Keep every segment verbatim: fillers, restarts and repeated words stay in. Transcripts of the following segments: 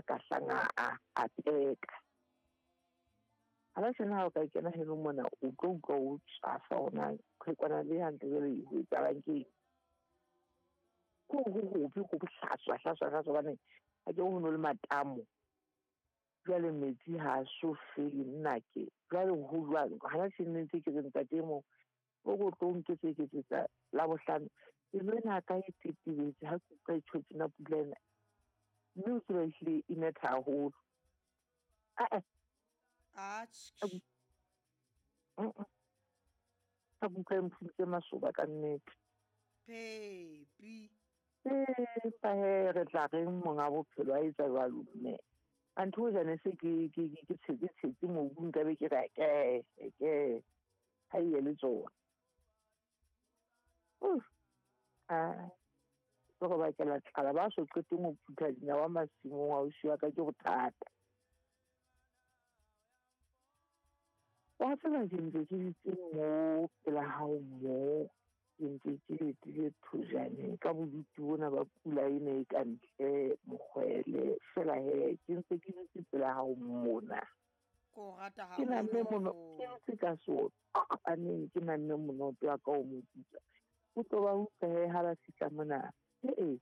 Ka hlang a a teka. Hana tjena ha o ka kena heno mona, o tlo utlwa o tswafa hore na qhekwana le hantle jwale ho etsahalang keng. Ke hore ho hobe ho bohlaswa hlaswa hlaswa hobane akere ho no le matamo. Jwale metsi ha so fele nnake. Jwale ho jwang hana tjena ntse ke re ntate e mong o ko tlo nketseketsetsa Labohlano. Pelo ena ya ka e tetebetse ha ke utlwa e tjho tjena pula ena. Mme o tseba ehlile e netha haholo. Ah-eh. Atjhe. Ka utlwa e mphuntse masoba ka nnete. Phepi. Empa hee re tla reng monga bophelo a etsa jwalo mme. Anthe hoja ne se ke ke ke tshetse tshetse mobu nka be ke re ke ke ha e ye le tsona. Ah, ke go bakela tlala ba so qeteng ho phutha dinawa masimong ausi wa ka ke bothata. Wa tseba ke ntse ke dutse mo pela hao mo, ke ntse ke letile thojane ka bodutu bona ba pula ena e ka ntle mokgwele. Feela hee ke ntse ke dutse pela hao mona. Ko rata Ke namme mono, haholo. ke ntse ka sotaneng, ke namme monoto wa ka o moputswa. O tlo ba utlwa hee ha ba fihla mona. Ee,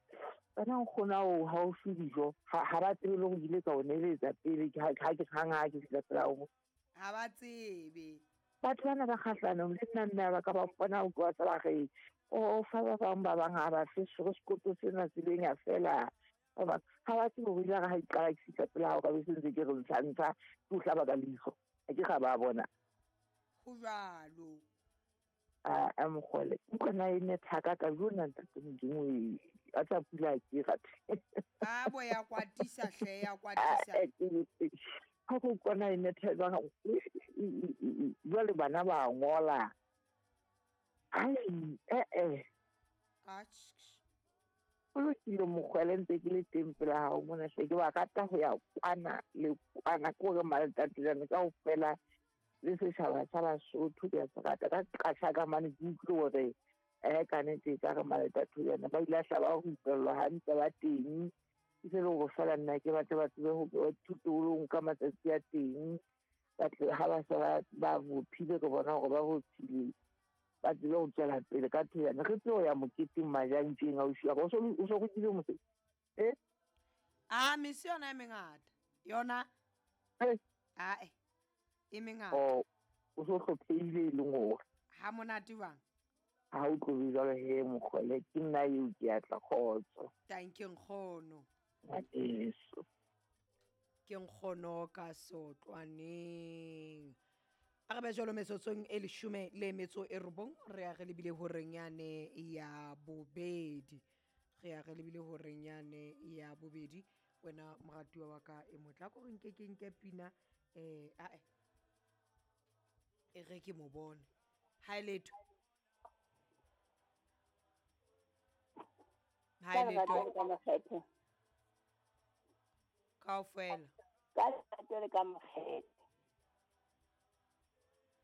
bana nkgono ao ha o fe dijo. Ha ha ba tsebe le hore ke ile ka o neletsa pele ha ke hang ha ke fihla pela hao. Ha ba tsebe. Batho bana ba kgahlanong le nna mme ba ka ba mpona o tloha ba re o fa ba bang ba bang ha ba fe sero sekoto sena tseleng ya fela. Ba bang ha ba tsebe hore ile ha ke qala ke fihla pela hao ka be se ntse ke re ntsha ntsha ke o hlaba ka leihlo. Ha ke ga ba bona. Ho jwalo. A a mokgwele utlwa na e netha ka ka jona ntate Modimo e a tla pula ke rathe. A bo ya kwatisa hle ya kwatisa. Ha go kona e netha jwang jwale bana ba ngola. Ai eh eh. Atjhe. Ho lokile mokgwele ntse ke le teng pela hao mona hle ke ba rata ho ya kwana le kwana ke hore Maletatejane kaofela le setjhaba sa Basotho ke a se rata. Ka qasha ka mane ke utlwe hore eh ka nnete e ka re Maletatejane ba ile a hla ba rupellwa hantle ba teng. Ke se le hore feela nna ke batle ba tsebe ho thutolong ka matsatsi a teng. Ba tle ha ba se ba ba bophile ke bona hore ba bophile ba tsebe ho tswela pele ka thojana. Re tsebe ho ya moketeng majantjeng ausi wa ka. O so o so rutile mosebetsi? Eh? Ah, mese yona e mengata. Yona? Eh. Ae. E mengata. Oh, o so hlophehile e leng hore. Ha monate jwang? Ha o tlo jwalo he mokgwele ke nna eo ke a tla kgotso. Thank you nkgono. Ngwaneso. Ke nkgono ka sotlwaneng. A re be jwalo metsotsong e leshome le metso e robong re ya re lebile horeng yane ya bobedi. Re ya re lebile horeng yane ya bobedi. Wena moratuwa wa ka e motla ko re nke ke nke pina eh ae. E re ke mo bone. Ha e letho. Ha e letho. Ka makgethe. Kaofela. Ka lerato le ka makgethe.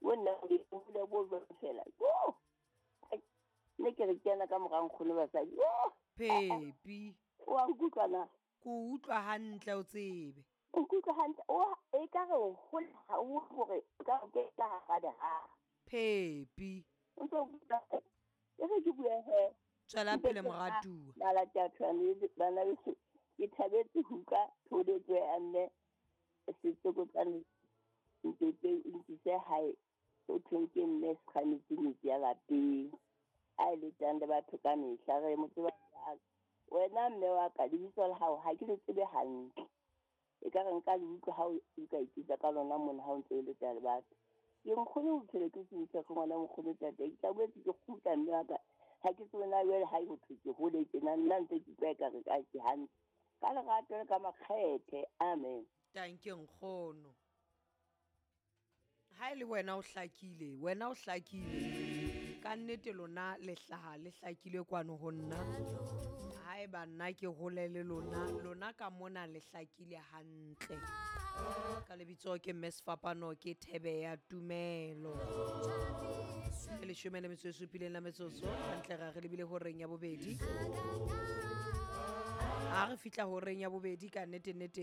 Wena o hole bo jwang fela. Yo! Ne ke re kena ka mora nkgono basadi. Yo! Phepi. O a nkutlwa na? Ko utlwa hantle o tsebe. O nkutlwa hantle. O e ka re o hole ha o hore o ka ke ka hara dihaha. Phepi. O ntso utlwa. E re ke bue he. Tswela pele moratuwa. Malati a tshwane bana beso. Ke thabetse ho utlwa tholetso ya mme setsokotsane ntete ntise hae. O thweng ke mme sekgametsi metsi ya lapeng. A e letang le batho ka mehla re mo tseba jwang. Wena mme wa ka lebitso la hao ha ke le tsebe hantle. E ka re nka le utlwa ha o ka ikitsa ka lona mona ha o ntse o leta le batho. Ke nkgono o phele ke se utlwe ke ngwana nkgono tate. Ke tla boetse ke kgutla mme wa ka. Ha ke tsebe na jwale ha e ho thwe ke hole tjena nna ntse ke utlwa ekare ka ke hantle. Ka lerato le ka makgethe. Amen. Thank you nkgono. Ha e le wena o hlakile, wena o hlakile. Ka nnete lona le hlaha le hlakile kwano ho nna. Haeba nna ke hole le lona, lona ka mona le hlakile hantle. Ka lebitso ke Mme Sefapano ke Thebe ya Tumelo. Ke leshome le metso e supileng la metsotso, hantle ra re lebile horeng ya bobedi. Ha re fihla horeng ya bobedi ka nnete nnete